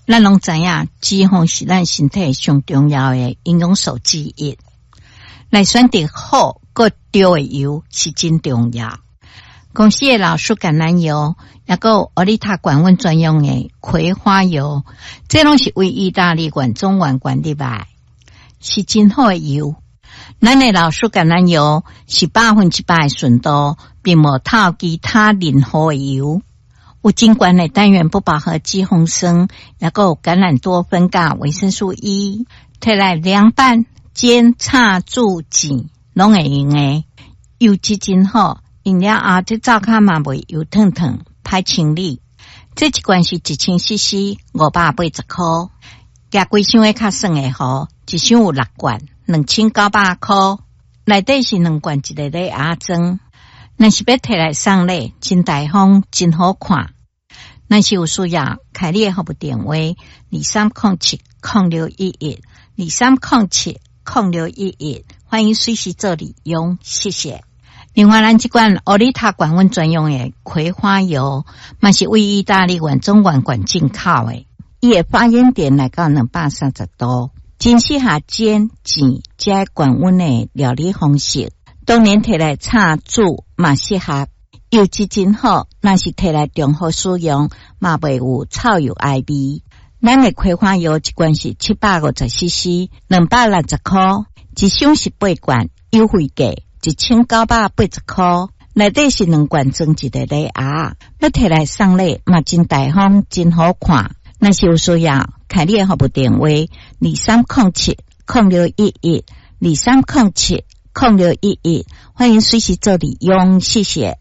咱攏知影，脂肪是咱身體上重要的營養素之一。來選擇好閣對的油是真重要。公司的老樹橄欖油，抑閣有奧利塔高溫專用的葵花油，這攏是為意大利原種原罐入來，是真好的油。咱的老樹橄欖油是100%的純度，並無透其他任何的油。有真懸的單元不飽和脂肪酸，抑閣有橄欖多酚佮維生素 E，摕來涼拌、煎、炒、煮、煎，攏會用的。油質真好，用了後這灶跤嘛袂油燙燙，歹清理。這一罐是1000 CC，580箍。舉規箱的較算會好，一箱有六罐，2900箍。內底是兩罐一個禮盒裝。若是欲提來送禮，真大方，真好看。若是有需要，開你的服務電話：23070611，23070611，歡迎隨時做利用，謝謝。另外，咱這罐奧利塔高溫專用的葵花油，嘛是為意大利原種原罐進口的，伊的發煙點來到230度，真適合煎、煎這高溫的料理方式。當然提來炒煮嘛適合，油質真好。若是提來重複使用，嘛袂有臭油埃味。咱的葵花油一罐是750 CC，260箍，一箱是八罐，優惠價1980箍。內底是兩罐裝一個禮盒，欲提來送禮嘛真大方，真好看。若是有需要，開你的服務電話：23070611，23070611，歡迎隨時做利用，謝謝。